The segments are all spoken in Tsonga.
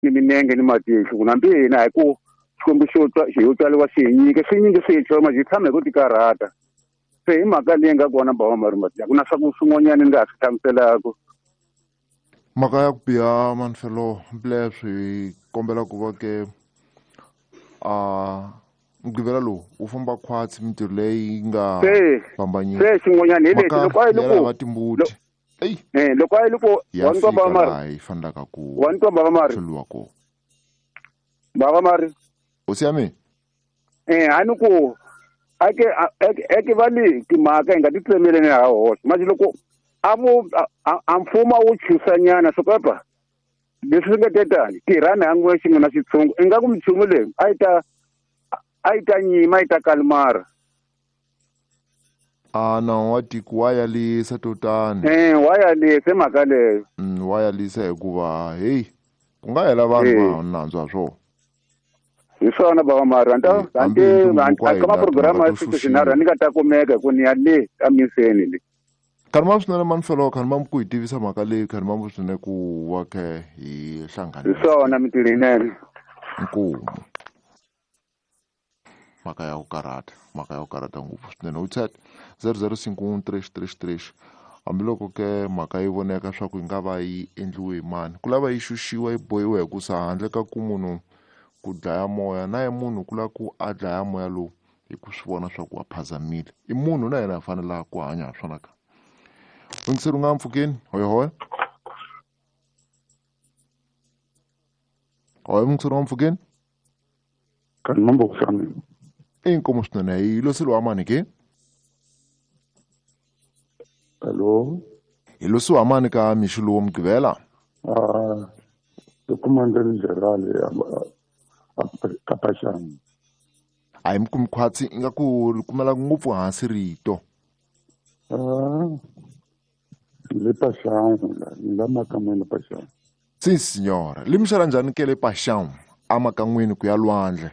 Ni minenge ni matihlo ku hambi hina hi ku Xikwembu xo twa xi yo tswariwa xi hi nyike swi nyingi swi hi manje hi tshama hi ku tikarhata. Se hi mhaka leyi nga kona bava Marumati, a ku na swa ku swin'wanyana ni nga ha swi hlamuselaka. Mhaka ya ku biha manfelo mpileswo hi kombela ku va ke a mugqivela lowu wu famba khwatsi mintirho leyi nga fambanyiki. Se xin'wanyana hi lexi loko a yi loko va timbuti. Ey. Loko a yi loko wa ni baba mari. Yi fanelaka ku wa ni baba mari. Hluriwa kona. Baba mari. Hosi ya mina. A ni ku ake ake va le timhaka hi nga ti tsemeleni ha hoxa. Manje loko a vo a mfumo wu chusanyana swo kapa leswi swi nga tetani tirhani ha n'we xin'we na xitshungu ingaku minchumu leyi a yi ta nyima a yi ta kalimara. A nawu wa tiko wa yalisa to tani. Wa yalisa mhaka leyo. Wa yalisa hikuva hey ku nga hela vanhu va nandzu ha swona. Hi swona baba Mari, anta ka programa ya siku xinharhu ni nga ta kumeka ku ni ya le amiseni le. Khanima swinene manfelo, khanima ku hi tivisa mhaka leyi, khanima swinene ku wa ke hi hlangana. Hi swona mintirho yinene. Nkomu. Mhaka ya ku karhata, mhaka ya ku karhata ngopfu swinene. WhatsApp 00513333. Hambiloko ke mhaka yi voneka swa ku yi nga va yi endliwe hi mani, ku lava yi xuxiwa yi bohiwa hi ku sa handle ka ku munhu ku dlaya moya na ye munhu ku lava ku a dlaya moya lowu hi ku swi vona swa ku a phazamile. I munhu na yena a fanela ku hanya ha swona ka. Yingiseri u nga mpfhukeni, hoyohoyo. Hoyo yingiseri u nga mpfhukeni. Kanti mambo kusami. Inkomo swinene hi loseliwa mani ke? Hello. Hi losiwa mani ka mixo lowu Mugqivela? I Commander General ka Paxani. A hi mi kumi khwatsi ingaku ri kumela ngopfu hansi rito. Le Paxani la, ni la makan'wini Paxani. Si signora, li mixela njhani ke le Paxani a makan'wini ku ya lwandle?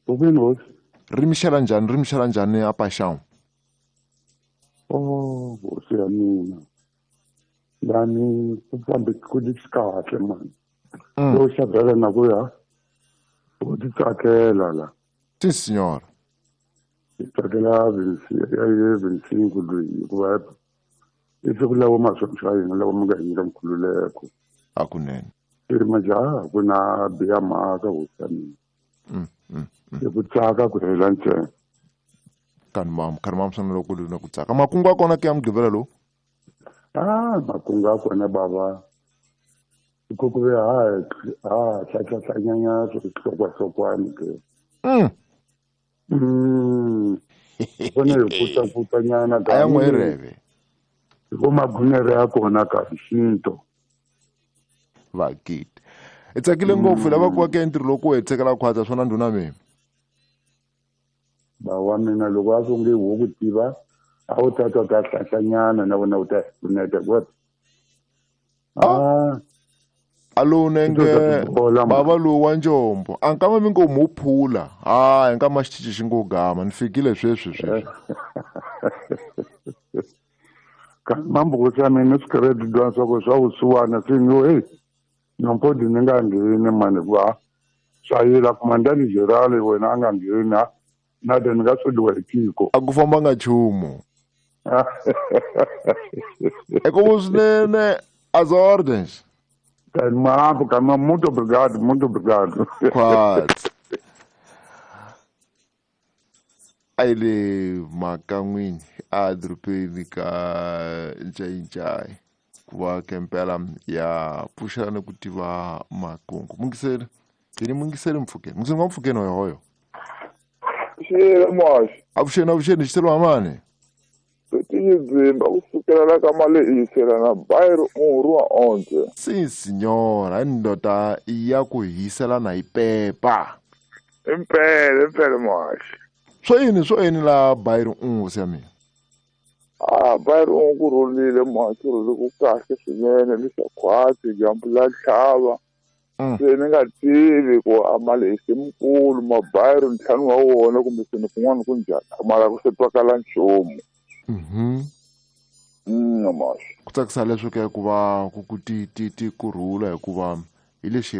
Vini hosi. Ri mixela njhani, ri mixela njhani a Paxani? Oh, hosi ya mina. Lani ku fambe ku li kahle mani. Yo xavela na ku ya. U ti tsakela la. Si signora. Ti tsakela vinsingu loyi hikuva i siku lawa maswontsha ya hina lawa mi nga hi nyika nkhululeko. Hakunene. I majaha ku na biha mhaka hosi ya mina. I ku tsaka ku hela ntsena. Kanimam swinene loko ku ri na ku tsaka. Makungu ya kona ke ya Mugqivela lowu? Makungu ya kona baba. Ku ku ve ha hlahlahlanyana swihlokwahlokwani ke. Kona hi putaputanyana ka. A ya n'we reve. Hi ku magunere ya kona ka xinto. Vakiti. I tsakile ngopfu lava ku va ke ntirho loko u hetiseka khwatsa swona ndhuna mina. Ba wa mina loko a swi nge wo ku tiva a wu ta twa ta hlahlanyana na wena u ta pfuneta ku. Alo nenge baba lowu wa njombo a nkama mi ngo mu phula ha nkama xitichi xi ngo gama ni fikile sweswi sweswi. Mambo sa mina swi credit dwa swa ku swa vusiwana swi ngo hey nompodi ni nga ngheni mani hikuva swa yila kumandani Gerald wena a nga ngheni na de ni nga sodiwa hi tiko. A ku fambanga nchumu. Eko swinene as ordens. Kanimambo, muito obrigado, muito obrigado. Quatro. A le makan'wini a dorobeni ka Ncayincayi ku va kempela ya pfuxelana ku tiva makungu. Mungiseri, yini mungiseri mpfhukeni. Mungiseri wa mpfhukeni hoyo. Xiyele muhaxi. Avuxeni, avuxeni, xiselo mani. Tiyizimba ku sukela la ka malehisela na Bayro Uhuru wa onke. Si signora, ndoda ya ku hisela na ipepa. Impela, impela muhaxi. Swo yini la Bayro Uhuru ya mina? Bayro Uhuru ku rhulile muhaxi, rhulile ku kahle swinene ni swa khwatsi dyambu la tlhava. Se ni nga tivi ku a malehisi mukulu ma Bayro ntlhanu wa wona kumbe seni kun'wana ku njhani mara ku se twakala nchumu. Ku tsakisa leswo ke ku va ku ti ti kurhula hikuva Hi lexi.